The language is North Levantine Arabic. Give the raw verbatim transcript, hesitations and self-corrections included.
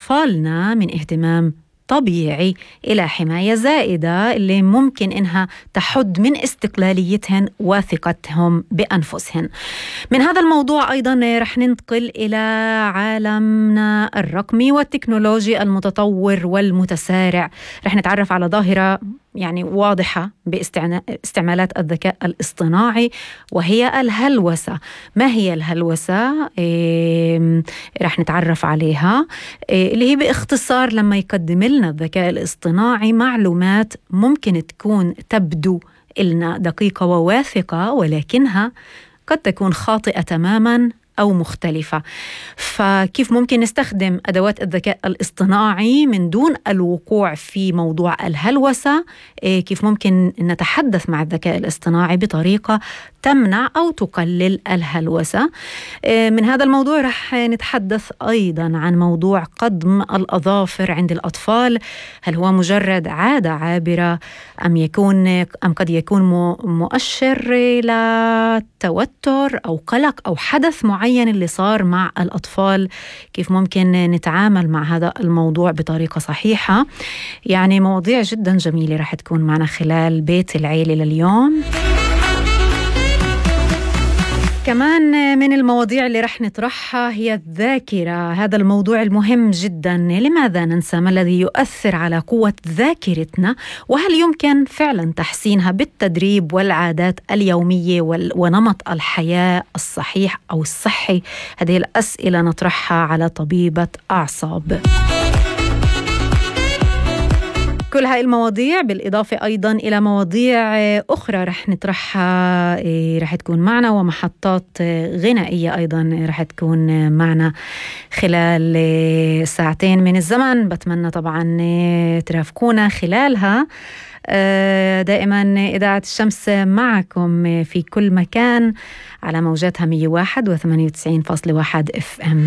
أطفالنا من اهتمام طبيعي إلى حماية زائدة اللي ممكن إنها تحد من استقلاليتهن وثقتهم بأنفسهن. من هذا الموضوع أيضا رح ننتقل إلى عالمنا الرقمي والتكنولوجي المتطور والمتسارع. رح نتعرف على ظاهرة يعني واضحة باستعمالات الذكاء الاصطناعي وهي الهلوسة. ما هي الهلوسة؟ إيه رح نتعرف عليها، إيه اللي هي باختصار لما يقدم لنا الذكاء الاصطناعي معلومات ممكن تكون تبدو لنا دقيقة وواثقة ولكنها قد تكون خاطئة تماماً أو مختلفة. فكيف ممكن نستخدم أدوات الذكاء الاصطناعي من دون الوقوع في موضوع الهلوسة؟ كيف ممكن نتحدث مع الذكاء الاصطناعي بطريقة تمنع أو تقلل الهلوسة؟ من هذا الموضوع رح نتحدث أيضا عن موضوع قضم الأظافر عند الأطفال. هل هو مجرد عادة عابرة أم يكون أم قد يكون مؤشر لتوتر أو قلق أو حدث معين اللي صار مع الأطفال؟ كيف ممكن نتعامل مع هذا الموضوع بطريقة صحيحة؟ يعني مواضيع جدا جميلة رح تكون معنا خلال بيت العيلة لليوم. كمان من المواضيع اللي رح نطرحها هي الذاكرة، هذا الموضوع المهم جدا. لماذا ننسى؟ ما الذي يؤثر على قوة ذاكرتنا؟ وهل يمكن فعلا تحسينها بالتدريب والعادات اليومية ونمط الحياة الصحيح أو الصحي؟ هذه الأسئلة نطرحها على طبيبة أعصاب. كل هاي المواضيع بالإضافة أيضا إلى مواضيع أخرى رح نطرحها رح تكون معنا، ومحطات غنائية أيضا رح تكون معنا خلال ساعتين من الزمن. بتمنى طبعا ترافقونا خلالها. دائما إذاعة الشمس معكم في كل مكان على موجاتها مية وواحد وثمانية وتسعين فاصلة واحد اف ام.